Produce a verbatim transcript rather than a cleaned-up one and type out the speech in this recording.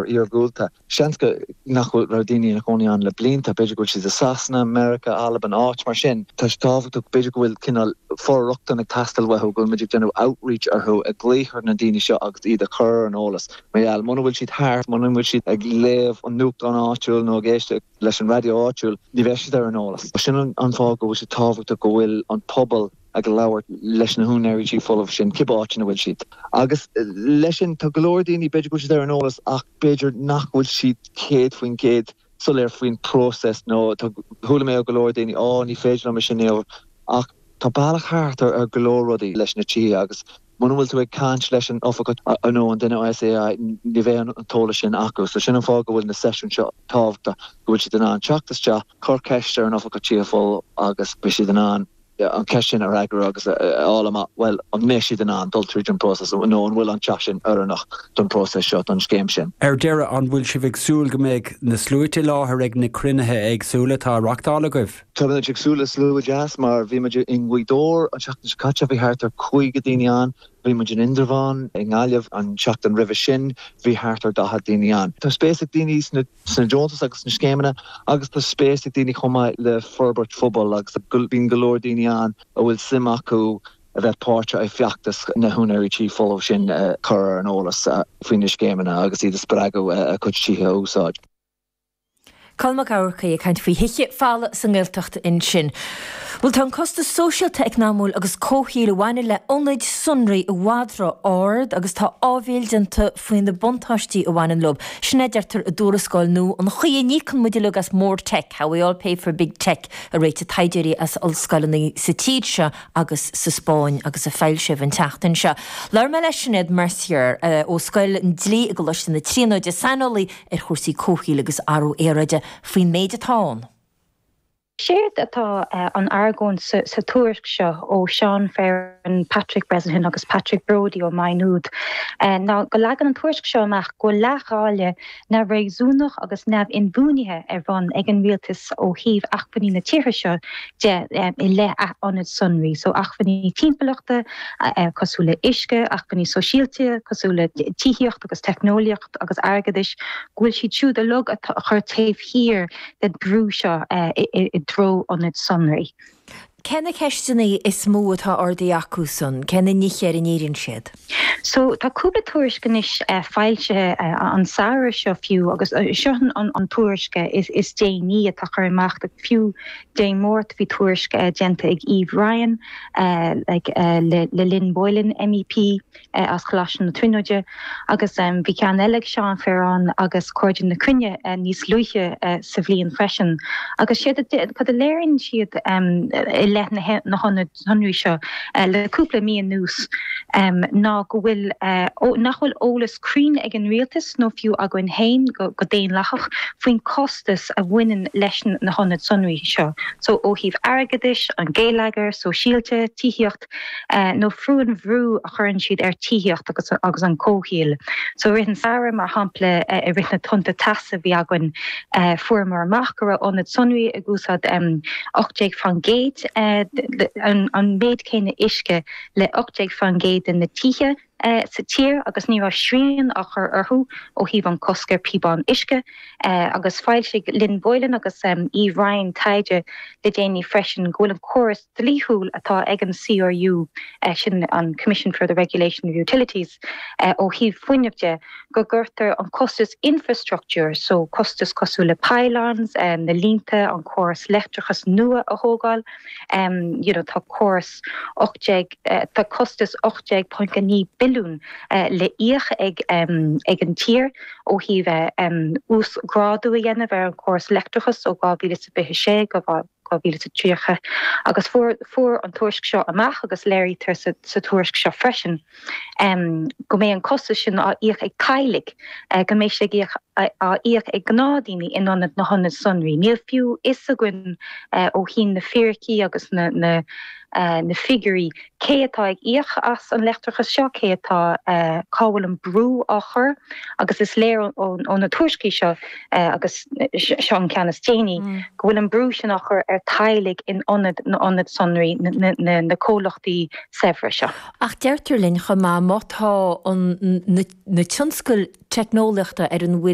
Iargúlta. Seans go nach raibh daoine ina gcónaí ann le blianta, b'fhéidir go bhfuil siad i Sasana, Meiriceá, Albain, áit mar sin. Tá sé tábhachtach b'fhéidir go bhfuil cineál for-rochtain ag teastáil uathu go bhfuil muid ag déanamh outreach orthu ag glaoch ar na daoine seo agus iad a chur ar an eolas. Mar gheall muna bhfuil siad thart, muna bhfuil siad ag léamh an nuachtán áitiúil nó ag éisteacht leis an raidió áitiúil, ní bheidh siad ar an eolas. Sin an fáth go bhfuil sé tábhachtach go bhfuil an pobal ag labhairt leis na húinéirí tí folamh sin cibé áit ina bhfuil siad. Agus leis sin tá go leor daoine b'fhéidir go bhfuil siad ar an eolas ach b'fhéidir nach bhfuil siad céad faoin gcéad soiléir faoin próiseas nó chuala mé ó go leor daoine á ní féidir liom sin ach tá bealach thart ar go leor rudaí leis na tithe agus muna bhfuil tú ag caint leis an oifigeach nó an duine SAI ní bheidh an t-eolas sin acu, so sin an fáth go bhfuil na seisiúin seo tábhachtach go bhfuil siad in ann teacht isteach cur ceist ar an oifigeach tithe folamh agus beidh siad in ann an cheist sin a fhreagairt agus fháil amach well an mbeidh siad in ann dul tríd an próiseas nó an bhfuil an teach sin oiriúnach don próiseas seo don scéim sin. Ar deireadh an bhfuil sibh ag súil go mbeidh na sluaite i láthair ag na cruinnithe éagsúla atá á reáchtáil agaibh. Tá ag súil le slua deas mar bhí muid i nGaoth Dobhair an seachtain seo caite bhí thart ar caoga daoine ann, bhí muid in Indreabhán i nGaillimh an seachtain roimhe sin bhí thart ar daichead daoine ann. Tá spéis ag daoine sna sna deontais agus na scéimeanna agus tá spéis ag daoine chomh maith le forbairt phobail agus bíonn go leor daoine ann a bhfuil suim acu a bheith páirteach i bhfeachtas na húinéirí tí folamh sin chur ar an eolas faoi na scéimeanna agus iad a spreagadh a gcuid tithe a úsáid. Colm Mac Eachmharcaigh ag caint faoi thithe folmha sa nGaeltacht ansin. Bhuel tá an costas sóisialta eacnamúil agus comhshaoil a bhaineann le ionaid sonraí i bhfad ró-ard agus tá áibhéil déanta faoi na buntáistí a bhaineann leo. Sin a deirtear i dtuarascáil nua an chaoi a n-íocann muid uilig as more tech, how we all pay for big tech a réitigh taighdeoirí as ollscoileanna sa tír seo agus sa Spáinn agus a foilsíodh an tseachtain seo. Labhair mé le Sinéad Mercier ó Scoil an Dlí i gColáiste na Tríonóide saineolaí ar chúrsaí comhshaoil agus athrú aeráide faoin méid atá ann. Séard atá an argóint sa, sa tuairisc seo ó Seán Ferran, Patrick Bresnahan agus Patrick Brody ó Maigh Nuad ná go leagann an tuairisc seo amach go leithdháileadh neamhréasúnach agus neamh-inbhuanaithe ar bun ag an rialtas ó thaobh acmhainní na tíre seo de i leith ionad sonraí, so acmhainní timpeallachta cosúil le uisce, acmhainní sóisialta, cosúil le tithíocht agus teicneolaíocht agus airgeadais, go bhfuil siad siúd uilig a chur taobh thiar den brú seo i dtreo ionad sonraí. Cé na ceisteanna is mó atá ardaithe acu san, cé na nithe ar a ndíríonn siad? So tá cúpla tuairisc anois uh, foilsithe uh, an samhradh seo fiú agus uh, seo an, an tuairisc is, is déanaí atá curtha amach fiú Dé Máirt bhí tuairisc uh, déanta ag Eve Ryan uh, like, uh, le, le Lynn Boylan MEP uh, as Coláiste na Tríonóide agus um, bhí ceann eile ag Seán Ferran agus Cairde na Cruinne uh, níos luaithe uh, sa bhliain freisin. Agus siad cad a léiríonn siad um, i leith na, na sonraí seo uh, le cúpla mí anuas um, ná go bhfuil uh, nach bhfuil eolas cruinn ag an rialtas nó fiú againn féin go, go daonlathach faoin costas a bhaineann leis na hionaid sonraí seo. So ó thaobh airgeadais, an geilleagar, sóisialta, tithíocht uh, nó fiú an brú a chuireann siad ar tithíocht agus, agus an comhshaol. So rith an samhradh mar shampla uh, i rith na tonnta teasa bhí againn uh, fuaireamar amach go raibh ionad sonraí ag úsáid um, ocht déag faoin gcéad uh, an, an méid céanna uisce le ocht déag faoin gcéad de na tithe uh, sa tír agus ní raibh srian á chur orthu ó thaobh an cosc ar píobán uisce uh, agus foilsigh Lynn Boylan agus um, Eve Ryan taighde le déanaí freisin go bhfuil an córas dlíthiúil atá ag an CRU uh, sin an Commission for the Regulation of Utilities uh, ó thaobh fuinnimh de go gcuirtear an costas infrastructure so costas cosúil le pylons um, na línte an córas leictreachas nua a thógáil um, you know, tá córas uh, tá costas ocht déag ponc naoi billiún uh, le íoc ag um, ag an tír ó thaobh um, uasghrádú a dhéanamh ar an córas leictreachas ó dhá mhíle is fiche sé go dhá mhíle is tríocha agus fuair fuair an tuairisc seo amach agus léirítear sa, sa tuairisc seo freisin um, go mbeidh an costas sin á íoc ag teaghlaigh uh, go mbeidh sé á íoc ag gnáthdhaoine in ionad na hionaid sonraí. Níl fiú fhios againn uh, ó thaobh na fíricí agus na, na na figiúirí, cé atá ag íoc as an leictreachas seo, cé atá, cá bhfuil an brú á chur agus is léir ó na tuairiscí seo agus seo an ceann is déanaí, go bhfuil an brú sin á chur ar teaghlaigh in ionad na n-ionad sonraí na comhlachtaí saibhre seo. Ach deirtear linn chomh maith má tá na tionscail teicneolaíochta ar an bhfuil